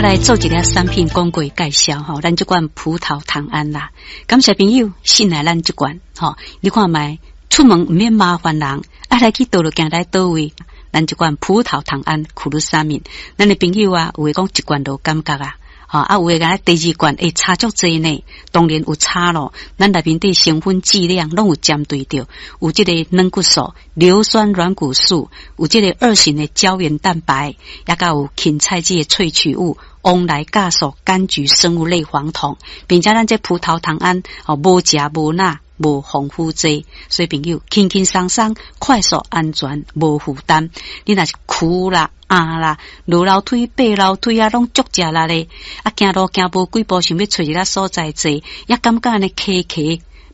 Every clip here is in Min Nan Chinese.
我來做一个產品廣告介紹吼，咱這罐葡萄糖胺啦，感謝朋友信賴咱這罐吼，你看覓出門毋免麻煩人，啊來去佗落行來佗位，咱這罐葡萄糖胺苦魯沙敏，咱的朋友啊，有的講一罐就感覺啊。吼啊，有的講第二罐會差足濟呢，當然有差咯。咱內面底成分劑量攏有針對著，有這個軟骨素、硫酸軟骨素，有這個二型的膠原蛋白，也閣有芹菜籽的萃取物、黃來酵素、柑橘生物類黃酮，並且咱這葡萄糖胺哦，無食無鈉。無防腐劑，所以朋友輕輕鬆鬆、快速、安全、無負擔。你若是跍啦、壓啦、落樓梯、爬樓梯啊，攏足食力咧。啊，行路行無幾步，想欲揣一个所在坐，也感覺按呢卡卡。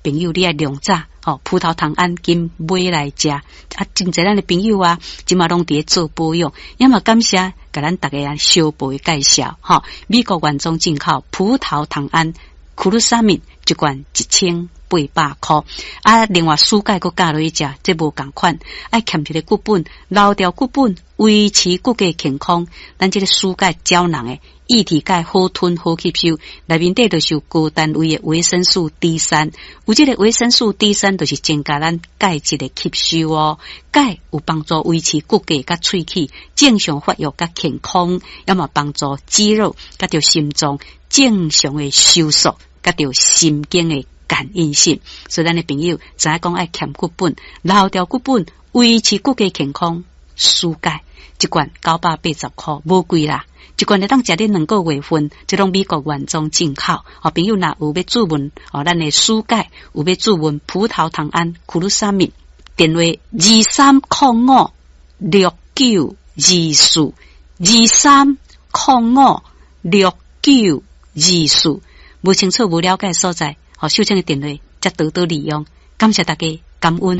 朋友，你愛量早吼，葡萄糖胺緊買來食。啊，真濟咱的朋友啊，這馬攏佇咧做保養，也嘛感謝共咱逐家小步的介紹。吼，美國原裝進口葡萄糖胺苦魯沙敏一罐1800箍啊！另外舒鈣閣加落去食，這無仝款，愛欠一个骨本，留著骨本，維持骨骼健康。咱這个舒鈣膠囊的液體鈣好吞好吸收，內面底就是有高單位的維生素 D 三，有這个維生素 D 三，就是增加咱鈣質的吸收哦。鈣有幫助維持骨骼佮喙齒正常發育佮健康，也嘛幫助肌肉佮著心臟正常的收縮，佮著神經的感應性，所以咱的朋友知影講愛欠骨本，留著骨本，維持骨骼健康，舒鈣一罐980箍，無貴啦。一罐會當食你2個月份，這攏美國原裝進口。哦，朋友若有欲注文哦，咱的舒鈣有欲注文葡萄糖胺苦魯沙敏，電話23056924，23056924，無清楚無了解所在。好，秀清的電話，才多多利用，感謝大家，感恩。